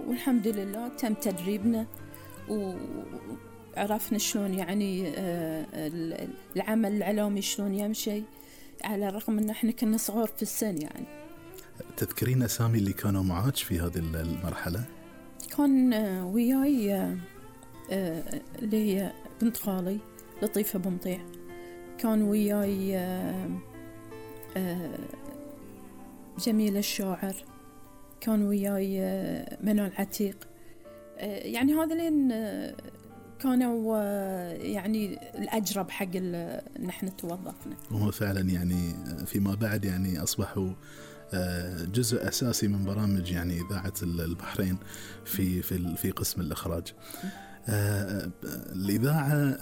والحمد لله تم تدريبنا وعرفنا شلون يعني العمل الإعلامي شلون يمشي، على الرغم أن احنا كنا صغار في السن. يعني تذكرين أسامي اللي كانوا معاك في هذه المرحلة؟ كان وياي اللي هي بنت خالي لطيفة بمطيع، كان وياي جميل الشاعر، كان وياي منال عتيق. يعني هذين كانوا يعني الأجرب حق نحن توظفنا. وهو فعلا يعني فيما بعد يعني أصبحوا جزء أساسي من برامج يعني إذاعة البحرين في قسم الإخراج. الإذاعة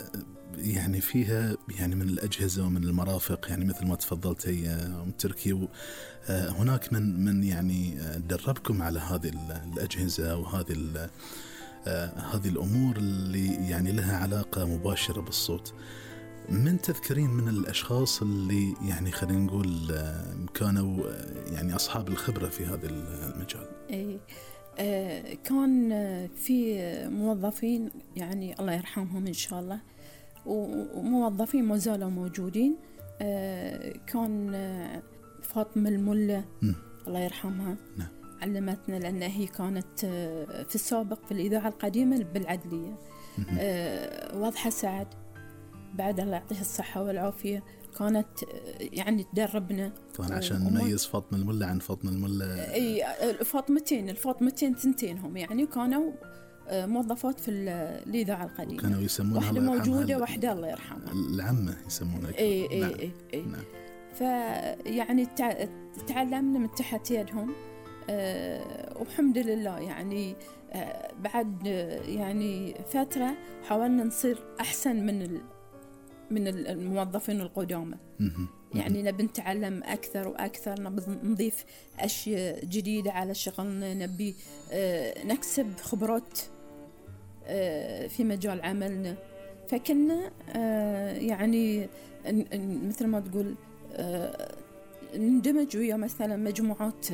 يعني فيها يعني من الأجهزة ومن المرافق، يعني مثل ما تفضلتي أم تركي، هناك من يعني دربكم على هذه الأجهزة وهذه هذه الأمور اللي يعني لها علاقة مباشرة بالصوت. من تذكرين من الأشخاص اللي يعني خلينا نقول كانوا يعني أصحاب الخبرة في هذا المجال؟ كان في موظفين يعني الله يرحمهم إن شاء الله، وموظفين ما زالوا موجودين. كان فاطمة الملا الله يرحمها، نعم. علمتنا لأن هي كانت في السابق في الإذاعة القديمة بالعدلية. واضحة سعد بعد الله يعطيها الصحة والعافية كانت يعني تدربنا. طبعا عشان نميز فاطمة الملا عن فاطمة الملا. اي الفاطمتين ثنتينهم يعني كانوا موظفات في الإذاعة القديمة، كانوا يسمونها واحدة موجودة واحدة الله يرحمها العمة يسمونها. اي نعم. فيعني تعلمنا من تحت يدهم. والحمد لله يعني بعد يعني فترة حاولنا نصير أحسن من الموظفين القدامى. يعني نبي نتعلم أكثر وأكثر، نبي نضيف أشياء جديدة على شغلنا، نبي نكسب خبرات في مجال عملنا. فكنا يعني مثل ما تقول نندمج ويا مثلا مجموعات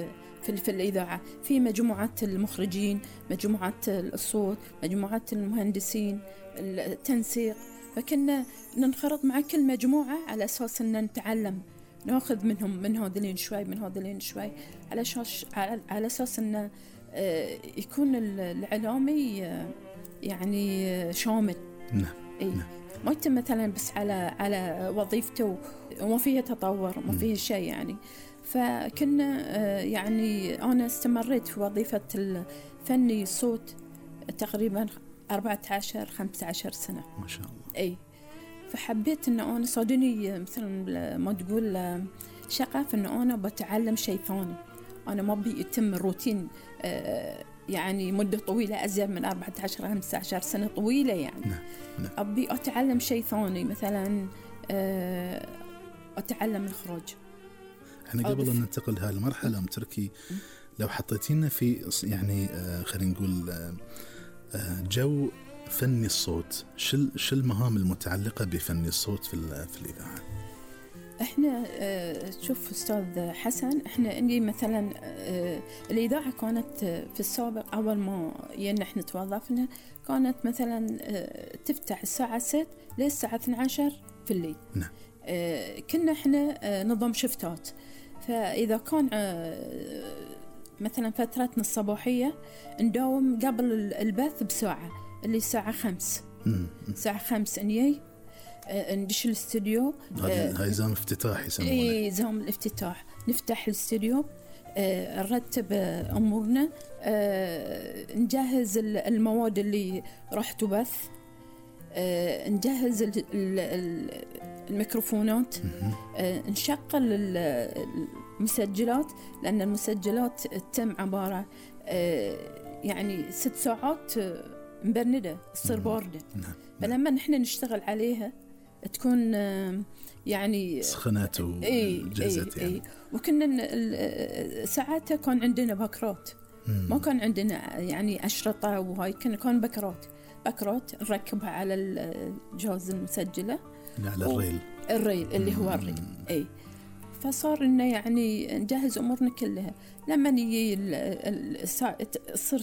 في الإذاعة، في مجموعات المخرجين، مجموعات الصوت، مجموعات المهندسين، التنسيق. فكنا ننخرط مع كل مجموعة على أساس أن نتعلم، نأخذ منهم من هذولين شوي من هذولين شوي، على أساس أن يكون الإعلامي يعني شامل. نعم. ما يتم مثلا بس على وظيفته وما فيها تطور وما فيها شيء يعني. فكنا يعني أنا استمريت في وظيفة الفني الصوت تقريبا 14-15 سنة ما شاء الله. فحبيت أن أنا صادني مثلا ما تقول شغف أن أنا بتعلم شيء ثاني. أنا ما بيتم الروتين يعني مدة طويلة أزيد من 14-15 سنة طويلة يعني. نعم. أبي أتعلم شيء ثاني، مثلا أتعلم الإخراج. احنا قبل أن ننتقل لهذه المرحلة أم تركي، لو حطيتينا في يعني خلينا نقول جو فني الصوت، شو المهام المتعلقة بفني الصوت في الإذاعة؟ احنا شوف أستاذ حسن، احنا عندي مثلا الإذاعة كانت في السابق أول ما احنا توظفنا كانت مثلا تفتح الساعة 6 للساعة 12 في الليل. نعم. كنا احنا نظام شفتات، فإذا كان مثلا فترتنا الصباحية نداوم قبل البث بساعة، اللي الساعة 5 الساعة 5 نيجي ندش الاستوديو. هاي زام افتتاح يسمونه. اي زام الافتتاح، نفتح الاستوديو، نرتب أمورنا، نجهز المواد اللي راح تبث، نجهز الميكروفونات، نشغل المسجلات، لأن المسجلات تتم عبارة يعني 6 ساعات مبردة تصير باردة. فلما نحن نشتغل عليها تكون يعني سخنت وجهزت يعني. وكنا ساعتها كان عندنا بكرات، ما كان عندنا يعني أشرطة وهاي، كان بكرات نركبها على الجهاز المسجلة على الريل اللي هو الريل. فصار إنه يعني نجهز أمورنا كلها. لما نيجي تصير